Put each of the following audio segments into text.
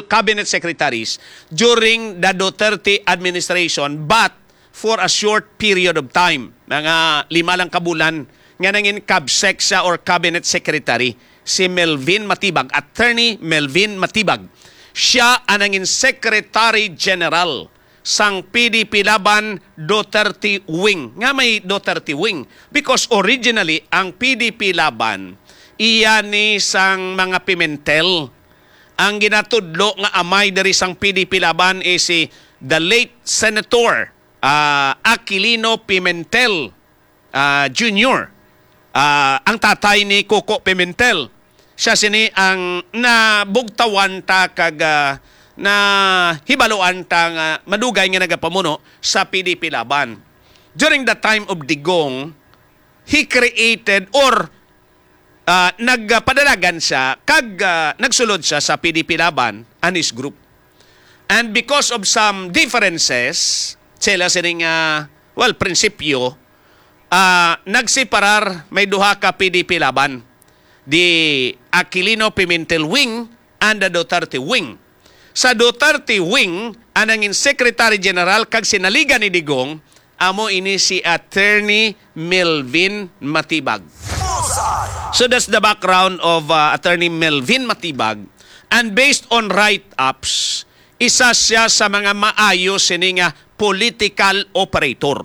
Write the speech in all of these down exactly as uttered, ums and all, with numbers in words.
cabinet secretaries during the Duterte administration, but for a short period of time, mga lima lang ka bulan, nga nangin CabSec siya or cabinet secretary, si Melvin Matibag, Attorney Melvin Matibag. Siya ang nangin Secretary General sang P D P Laban Duterte Wing. Nga may Duterte Wing? Because originally, ang P D P Laban, iya ni sang mga Pimentel. Ang ginatudlo nga amay diri sang P D P Laban is si the late Senator, ah, Aquilino Pimentel, ah, Junior. Ah, ang tatay ni Coco Pimentel. Siya sini ang nabugtawan ta kag, ah, nahibaluan ta nga madugay nga nagapamuno sa P D P Laban. During the time of Digong, he created or, ah, nagpadalagan siya kag, ah, nagsulod siya sa P D P Laban and his group. And because of some differences, sila sining, ah, well, prinsipyo, ah, nagseparar, may duha ka P D P Laban, the Aquilino Pimentel Wing and the Duterte Wing. Sa Duterte Wing, ang nangin Secretary General kag sinaligan ni Digong, amo ini si Attorney Melvin Matibag. So that's the background of, uh, Attorney Melvin Matibag. And based on write-ups, isa siya sa mga maayo sini nga political operator.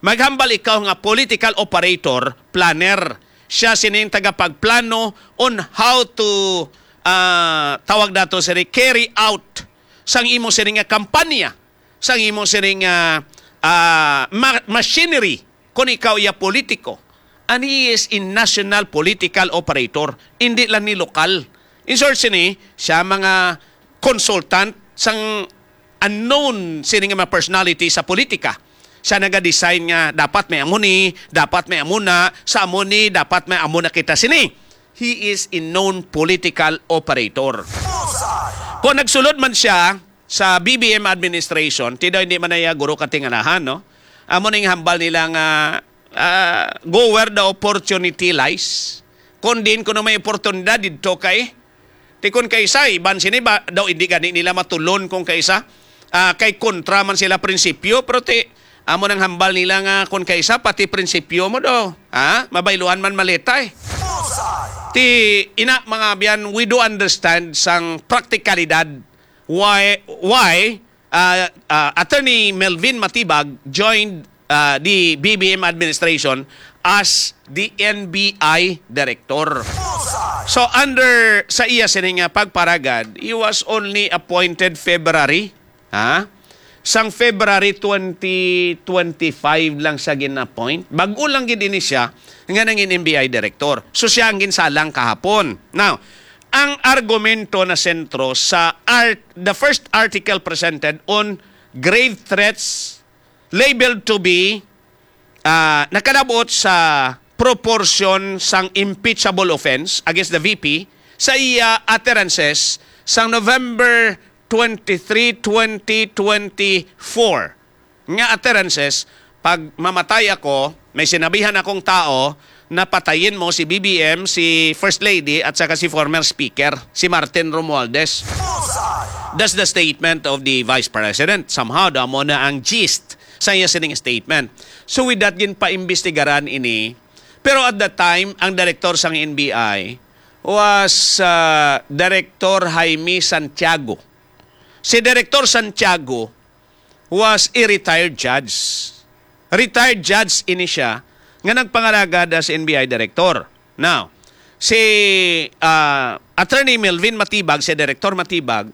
Maghambal ikaw nga political operator, planner. Siya sining tagapagplano on how to, ah, tawag nato sini, carry out sang imo sini nga kampanya, sang imo sini nga, ah, ma-, machinery, kung ikaw iya politiko. And he is a national political operator, hindi lang ni lokal. In short sini, siya mga consultant sang unknown sini nga mga personality sa politika. Siya naga-design nga dapat may amo ni, dapat may amo na, sa amo ni, dapat may amo na kita sini. He is a known political operator. Kung nagsulod man siya sa B B M administration, ti daw hindi man na iya guro katingalahan, no? Amo ning hambal nila nga, ah, go where the opportunity lies. Kung diin kuno may oportunidad, didto kay. Ti kon kaisa, iban sini ba, daw hindi gani nila matulon kung kaisa, ah, kay kontra man sila prinsipyo, pero ti, amo nang hambal nila nga kon kaisa, pati prinsipyo mo daw, ha? Mabayluan man maleta eh. Ti, ina, mga abyan, we do understand sang praktikalidad why, why, ah, ah, Attorney Melvin Matibag joined, ah, the B B M administration as the N B I director. So under sa iya sini nga pagparagad, he was only appointed February, ha? Sang February twenty twenty-five lang siya gin-appoint. Bag-o lang gid ini siya nga nangin N B I director. So siya ang ginsalang kahapon. Now, ang argumento na sentro sa art, the first article presented on grave threats labeled to be, ah, nakalabot sa proportion sang impeachable offense against the V P sa iya utterances sang November twenty-three, twenty twenty-four nga utterances, "Pag mamatay ako, may sinabihan akong tao na patayin mo si B B M, si First Lady, at saka si former Speaker, si Martin Romualdez." That's the statement of the Vice President. Somehow, daw mo na ang gist sa iya sining statement. So with that, ginpaimbestigaran ini. Pero at that time, ang director sang N B I was, uh, Director Jaime Santiago. Si Director Santiago was a retired judge. Retired judge ini siya nga nagpangalagad as N B I director. Now, si, ah, Attorney Melvin Matibag, si Director Matibag,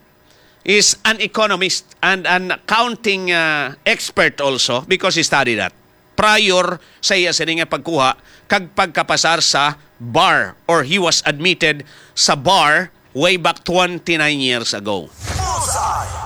is an economist and an accounting, ah, expert also because he studied that prior sa iya sini nga pagkuha kag pagkapasar sa bar, or he was admitted sa bar way back twenty-nine years ago.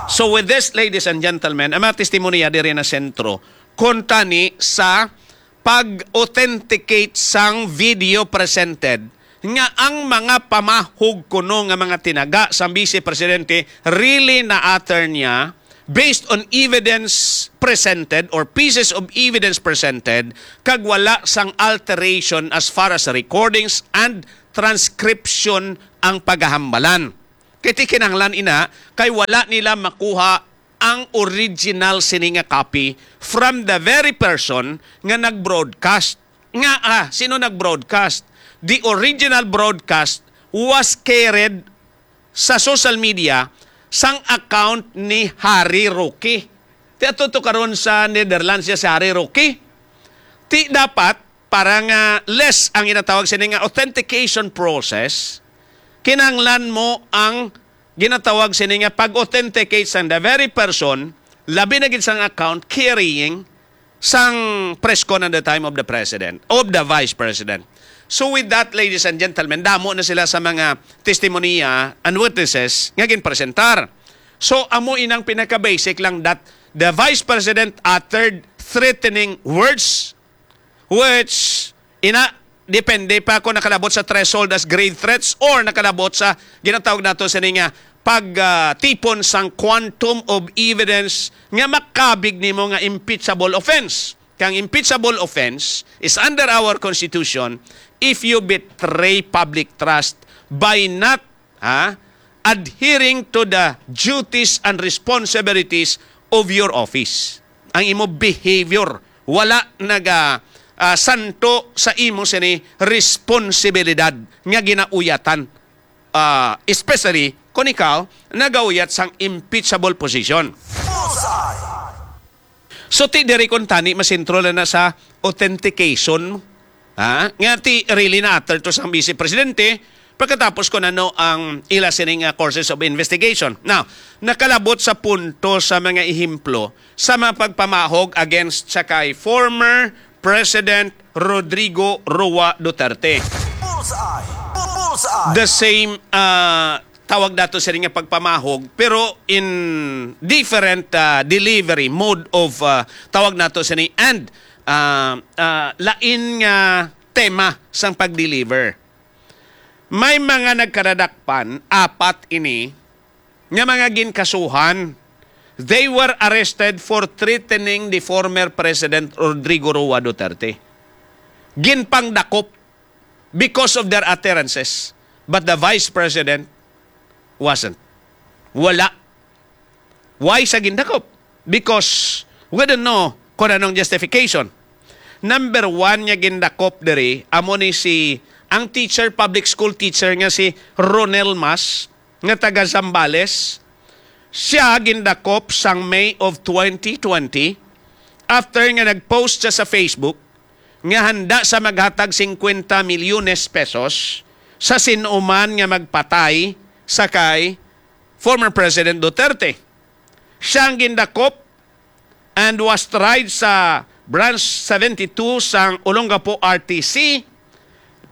So with this, ladies and gentlemen, ang mga testimonya diri na sentro kuntani sa pag-authenticate sang video presented nga ang mga pamahog kuno nga mga tinaga sang Vice Presidente really na-utter niya based on evidence presented or pieces of evidence presented, kag wala sang alteration as far as recordings and transcription ang pagahambalan. Kay ti kinahanglan ina, kay wala nila makuha ang original sini nga copy from the very person nga nag-broadcast. Nga, ah, sino nag-broadcast? The original broadcast was carried sa social media sang account ni Harry Roque. Ti ato to karon sa Netherlands siya si Harry Roque. Ti dapat, para nga less ang ginatawag sini nga authentication process, kinahanglan mo ang ginatawag sini nga pag-authenticate sang the very person, labi na gid sang account carrying sang press con at the time of the president, of the vice president. So with that, ladies and gentlemen, damo na sila sa mga testimonya and witnesses nga ginpresentar. So amo inang pinaka-basic lang that the vice president uttered threatening words, which ina, depende pa kung nakalabot sa threshold as grave threats or nakalabot sa ginatawag nato sini nga pagtipon sang quantum of evidence nga makabig nimo nga impeachable offense. Kang impeachable offense is under our constitution if you betray public trust by not, ha, adhering to the duties and responsibilities of your office. Ang imo behavior wala naga, ah, santo sa imo sini responsibilidad nga ginauyatan, ah, especially kung ikaw nagauyat sang impeachable position. So, ti diri kuntani masentro lang na sa authentication, ha? Nga ti really na-utter to sang Vice Presidente, pagkatapos kung ano ang ila sining, ah, courses of investigation. Now, nakalabot sa punto sa mga ehemplo sa mga pagpamahog against sa kay former President Rodrigo Roa Duterte. Bullseye! Bullseye! The same, ah, tawag nato sini nga pagpamahog, pero in different, ah, delivery, mode of, ah, tawag nato sini, and, ah, ah, lain nga tema sang pag-deliver. May mga nagkadadakpan, apat ini, nga mga ginkasuhan. They were arrested for threatening the former President Rodrigo Roa Duterte. Ginpangdakop because of their utterances. But the Vice President wasn't. Wala. Why sa gindakop? Because we don't know kung anong justification. Number one nga gindakop diri, amo ni si, ang teacher, public school teacher nga si Ronel Mas, nga taga Zambales. Siya gindakop sang May of twenty twenty after nga nag-post siya sa Facebook nga handa sa maghatag singkwenta milyones pesos sa sin-o man nga magpatay sa kay former President Duterte. Siya ang gindakop and was tried sa Branch seventy-two sang Olongapo R T C,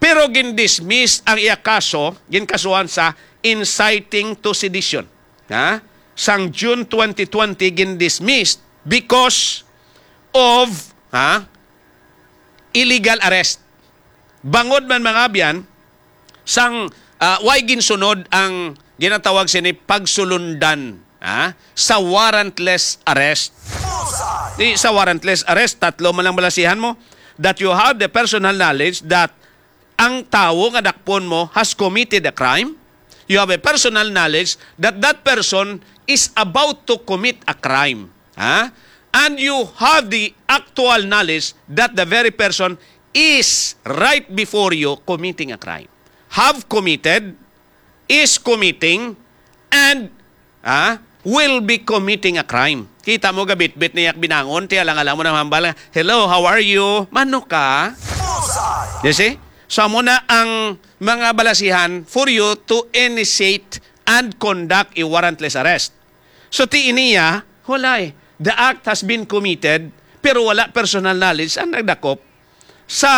pero gindismiss ang iya kaso, ginkasuhan sa inciting to sedition. Ha? Sang June twenty twenty, gindismiss because of, ha, illegal arrest. Bangod man, mga abyan, sang, ah, way ginsunod ang ginatawag sini pagsulundan, ha, sa warrantless arrest. Di, sa warrantless arrest, tatlo man lang balasihan mo, that you have the personal knowledge that ang tawo nga dakpon mo has committed a crime. You have a personal knowledge that that person is about to commit a crime. Ha? And you have the actual knowledge that the very person is right before you committing a crime. Have committed, is committing, and, ah, will be committing a crime. Kita mo, gabitbit niya binangon, ti alang-alang mo na hambal, "Hello, how are you?" Mano ka? You see? So, amo na ang mga balasihan for you to initiate and conduct a warrantless arrest. So, ti iniya, wala eh. The act has been committed, pero wala personal knowledge ang nagdakop sa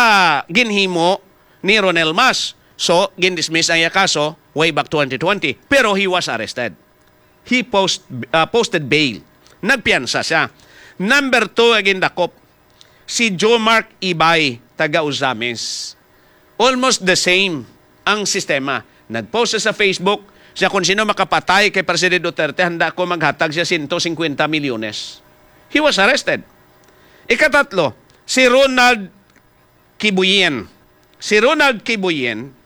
ginhimo ni Ronel Mas. So, gindismiss ang iya kaso way back twenty twenty. Pero he was arrested. He post, ah, posted bail. Nagpiyansa siya. Number two, ang gindakop, si Jomark Ibay, taga Ozamiz. Almost the same ang sistema. Nag-post siya sa Facebook, siya kung sino makapatay kay President Duterte, handa ko maghatag siya sento singkwenta milyones. He was arrested. Ikatatlo, si Ronald Kibuyen. Si Ronald Kibuyen,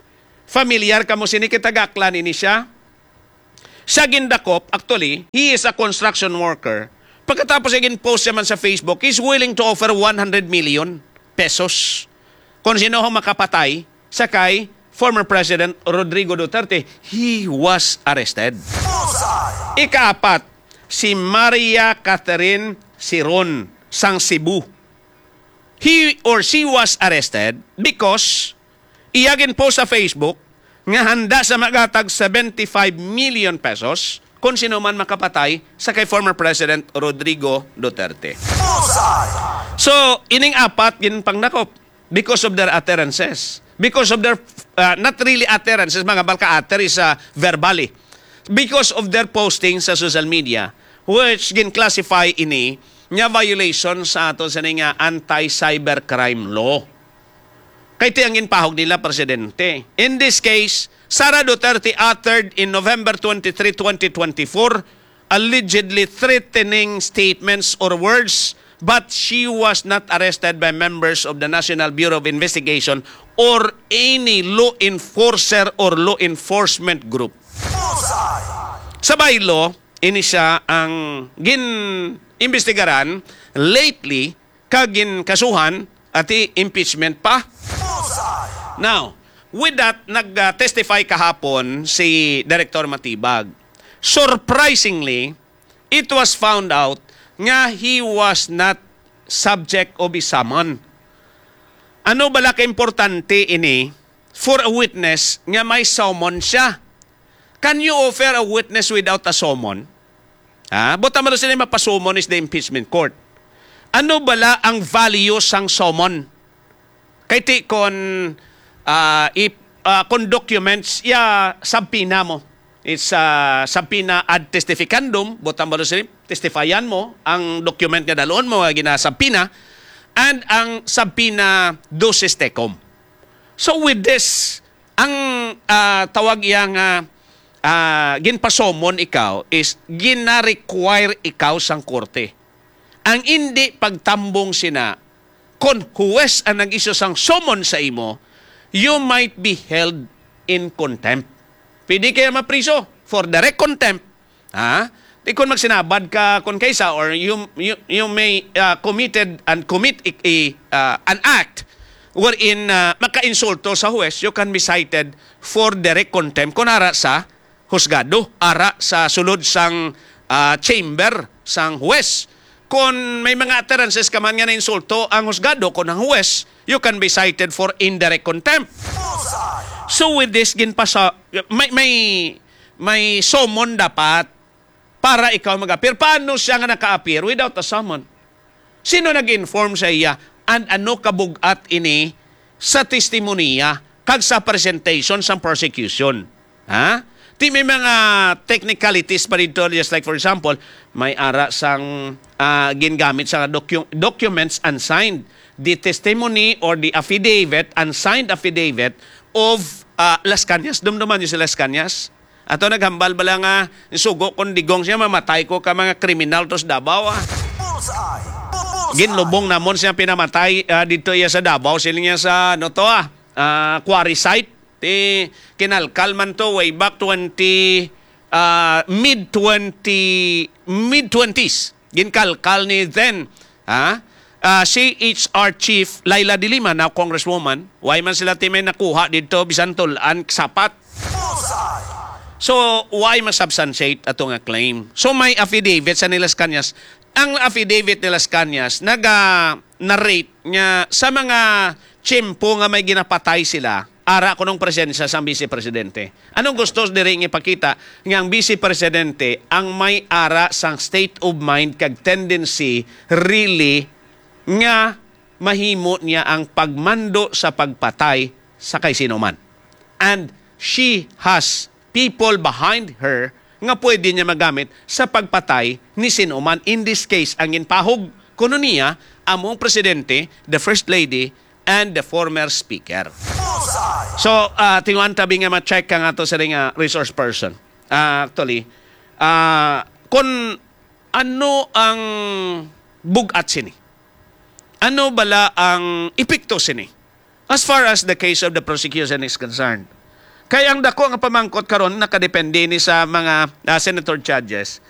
familiar kamo sini, kay taga-Aklan ini siya. Siya gindakop, actually, he is a construction worker. Pagkatapos siya gin-post siya man sa Facebook, he's willing to offer one hundred million pesos kung sino ang makapatay sa kay former President Rodrigo Duterte. He was arrested. Ikaapat, si Maria Catherine Siron sang Cebu. He or she was arrested because iya gin-post sa Facebook nga handa sa magatag seventy-five million pesos kung sino man makapatay sa kay former President Rodrigo Duterte. So, ining apat ginpangdakop because of their utterances. Because of their, uh, not really utterances, mga balka, utter is, uh, verbally. Because of their posting sa social media, which gin-classify ini nga violation sa ato sa nga anti-cybercrime law. Kay ti ang ginpahog nila, Presidente. In this case, Sara Duterte uttered in November twenty-three, twenty twenty-four, allegedly threatening statements or words, but she was not arrested by members of the National Bureau of Investigation or any law enforcer or law enforcement group. Sa bylaw, ini siya ang gin-imbestigaran lately kag ginkasuhan ati impeachment pa. Now, with that, nag-testify kahapon si Director Matibag. Surprisingly, it was found out nga he was not subject of a summon. Ano bala ka importante ini for a witness nga may summon siya? Can you offer a witness without a summon? Ha? Buta man sila mapasummon is the impeachment court. Ano bala ang value sang summon? Kay ti kon, ah, if, ah, kon documents, ya subpoena mo. It's, ah, subpoena ad testificandum, buta man sila, testifyan mo ang document nga dalon mo nga ginasubpoena, and ang subpoena ducis tecum. So with this, ang, ah, tawag iya nga, ah, ginpasummon ikaw is gina-require ikaw sang korte. Ang indi pagtambong sina, kon huwes ang nag-isyu sang summon sa imo, you might be held in contempt. Pwede kaya mapriso for direct contempt. Ha? Di kon magsinabad ka kon kaysa, or you, you, you may, uh, committed and commit i, i, uh, an act wherein, uh, makainsulto sa huwes, you can be cited for direct contempt kun ara sa husgado, ara sa sulod sang, uh, chamber sang huwes. Kon may mga utterances ka man nga nainsulto ang husgado kon ang huwes, you can be cited for indirect contempt. So with this, ginpasa-, may, may, may summon dapat para ikaw mag-appear. Paano siya nga naka-appear without a summon? Sino nag-inform sa iya? And ano kabug-at ini sa testimonya kag sa presentation sang prosecution? Ha? Ti may mga technicalities pa dito, just like for example, may ara sang, ah, gingamit sa docu-, documents unsigned, the testimony or the affidavit, unsigned affidavit of, ah, Las Cañas. Dumduman niyo si Las Cañas? Ato naghambal bala nga sugo kon digong siya, mamatay ko ka mga kriminal to sa Davao, ah. Ginlubong namon siya pinamatay, ah, dito iya sa Davao, siling niya sa, ano to, ah, ah, quarry site. Ti kinalkal man to way back twenty, ah, mid twenty, mid twenties. Ginkalkal ni then, ha? Ah, C H R Chief Leila de Lima, now Congresswoman, why man sila ti may nakuha dito, bisan tulan, sapat? So, why masubstantiate ato nga claim? So, may affidavit sa ni Las Cañas. Ang affidavit ni Las Cañas naga-narrate nga sa mga tiyempo nga may ginapatay sila, ara kunong presensya sang Vice Presidente. Anong gusto diri nga ipakita nga ang Vice Presidente ang may ara sang state of mind kag tendency really nga mahimo niya ang pagmando sa pagpatay sa kay sino man. And she has people behind her nga pwede niya magamit sa pagpatay ni sino man. In this case, ang ginpahog kuno niya among presidente, the first lady, and the former speaker. So, ah, tinguan tabi nga ma-check ka nga to sa nga resource person. Ah, actually, ah, kung ano ang bugat sini? Ano bala ang epekto sini? As far as the case of the prosecution is concerned, Kay ang dako nga pamangkot karon nakadepende ni sa mga, ah, senator judges.